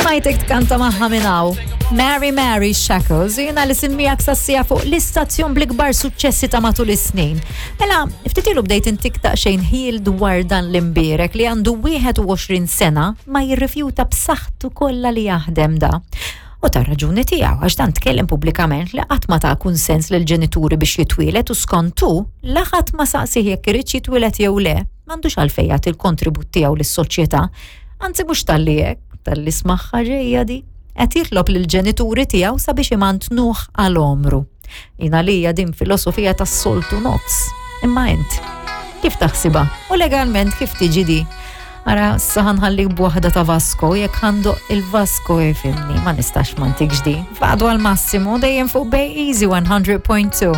Smajtek tkanta magħha minn hawn. Mary Mary Shackles, jiena li simmijak sassija fuq l-istazzjon bl-ikbar suċċessi ta' matul is-snin. Mela, ftit ilu bdejt intik daqsxejn ħil dwar dan l-imbierek li għandu 21 sena ma jirrifjuta b'saħħtu kollha li jaħdem da. U ta' raġuni tiegħu għax dan tkellem pubblikament li qatt ma ta' kunsens lil ġenituri biex jitwielet u skontu la ħadd ma saqsih jekk iridx jitwielet jew le, m'għandux għalfejn jagħti l-kontribut tiegħu lis-soċjetà. Anzi mhux talli hekk, talli smaħħa ġejja di. Qed jitlob lill-ġenituri tiegħu sabiex imantnuh għal għomru. Jien għalija din filosofija tas-soltu nofs. Imma int, kif taħsibha? U legalment kif tiġi di? Ara, saħan ħallik b'waħda ta' Vasco, jekk ħandoq il-Vasco jifimni, ma nistax ma ntikx di. Faqdu għal-massimu dejjem fuq Bay Easy 100.2.